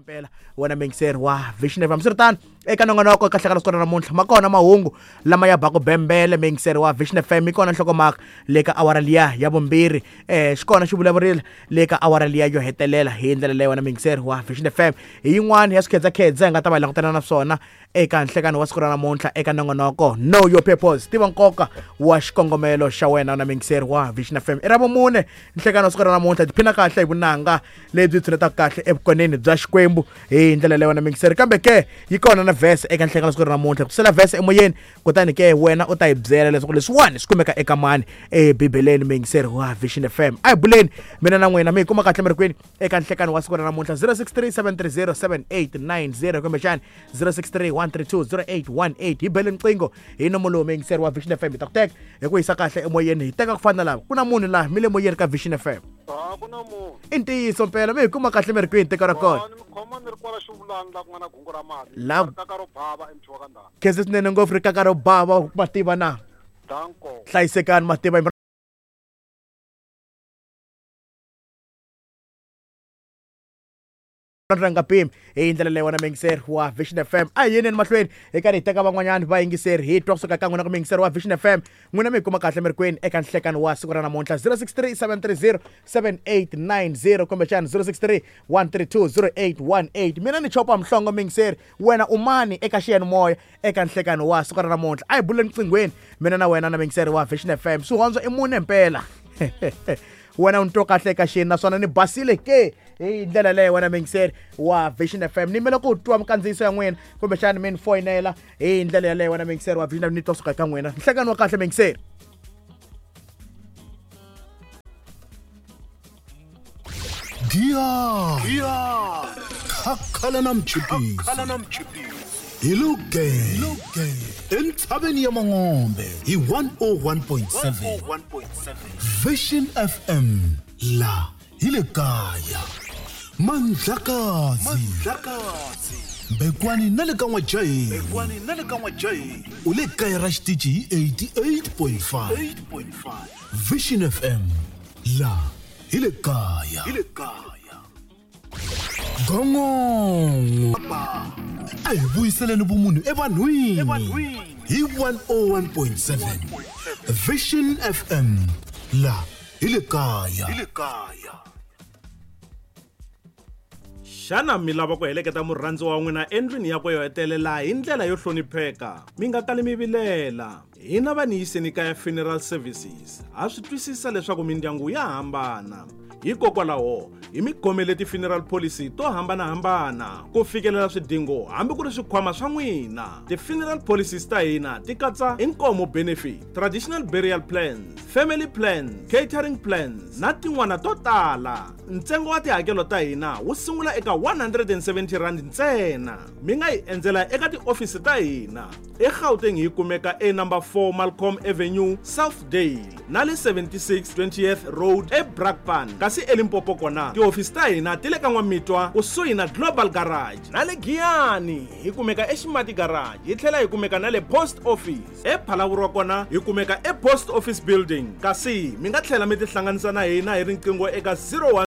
Mpela wena muyingiseri wa Vision FM, swiritano eka nongonoko ka hlekana siku ra namuntlha ma kona mahungu lama ya baku bembele. Muyingiseri wa Vision FM, yi kona nhlokomhaka le ka awara liya ya vumbirhi, xi kona xi vulavurile le ka awara liya yo hetelela. Hi ndlela leyo wena muyingiseri wa Vision FM, hi yin'wana ya swikhedzakhedza hi nga ta va hi langutana na swona eka nhlekano wa siku ra namuntlha eka nongonoko Know Your Purpose, tiva nkoka wa xikongomelo xa wena. Na muyingiseri wa Vision FM, i ra vumune nhlekano wa siku ra namuntlha, tiphina kahle hi vunanga lebyi tshunetaka kahle evukoneni bya Xikwembu hi ndlela leyo wena muyingiseri. Kambe ke yi kona na vhese eka nhlekano wa siku ra namuntlha, ku sela vhese emoyeni, kutani ke wena u ta yi byela leswaku leswiwani swi kumeka eka mani ebibeleni. Muyingiseri wa Vision FM, a hi buleni mina na n'wina, mi hi kuma kahle mi ri kwini eka nhlekano wa siku ra namuntlha? 063 730 7890 kumbexani 063 132 0818. Hi bele nqingho hi nomo lowu, muyingiseri wa Vision FM, hi ta ku teka hi ku yisa kahle emoyeni. Hi teka ku fana na lava ku na munhu laha mi le moyeni ka Vision FM. A ku na munhu. I ntiyiso mpela, mi hi kuma kahle mi ri kwini tiko ra kona? Ni mi khoma ni ri kwala xivulani la ku nga na gungu ra mali. Rikaka ro bava emuthiwa ka ndhawu. Khense swinene ngopfu, rikaka ro bava, mativa na. Danko. Hlayisekani mativa. Ra nga pimi hi ndlela leyi wena muyingiseri wa Vision FM. A hi yeneni mahlweni hi karhi hi teka van'wanyani vayingiseri, hi twa kusuka ka n'wina ku muyingiseri wa Vision FM, n'wina mi hi kuma kahle mi ri kwini eka nhlekano wa siku ra namuntlha? 063 730 7890 kumbexani 063 132 0818. Mina ni Chopa Mhlongo, muyingiseri, wena u mani eka xiyanimoya eka nhlekano wa siku ra namuntlha? A hi buleni nqinghweni mina na wena na muyingiseri wa Vision FM. Swihondzo i mune mpela, wena u ni twa kahle eka xini naswona ni basile ke? Hi ndlela leyo wena muyingiseri wa Vision FM, ni mele ku twa minkandziyiso ya n'wina kumbexani mi ni foyinela. Hi ndlela yaleyo wena muyingiseri wa Vision, ni twa suka eka n'wina. Nhlekani wa kahle, muyingiseri. Giya khakhala na mchipisi hi luge entshaveni ya Mangombe hi 101.7 Vision FM, la hi le kaya Mandlakazi Mbekwani na le ka N'wajaheni, u le kaya ra xitichi hi 88.5 Vision FM, la hi le kaya Gongongo. A hi vuyiseleni vumunhu evanhwini hi 101.7 Vision FM, la hi le kaya. Xana mi lava ku heleketa murhandzi wa n'wina endlwini yakwe yo hetelela hi ndlela yo hlonipheka? Mi nga kali mi vilela, hina va ni yiseni kaya Funeral Services ha swi twisisa leswaku mindyangu ya hambana, hikokwalaho hi mi khomele ti-funeral policy to hambanahambana ku fikelela swidingo hambi ku ri swikhwama swa n'wina. Ti-funeral policies ta hina ti katsa inkomo benefit, traditional burial plans, family plans, catering plans na tin'wana to tala. Ntsengo wa tihakelo ta hina wu sungula eka 170 rand ntsena. Mi nga hi endzela eka tiofisi ta hina eGauteng, hi kumeka e-number 4 Malcolm Avenue, Southdale, na le 76 20th Road eBrakpan, kasi eLimpopo kona tihofisi ta hina ti le ka N'wamitwa kusuhi na Global Garage, na le Giyani hi kumeka eXimati Garage, hi tlhela hi kumeka na le Post Office ePhalavurwa, kona hi kumeka ePost Office Building. Kasi mi nga tlhela mi tihlanganisa na hina hi riqingho eka 01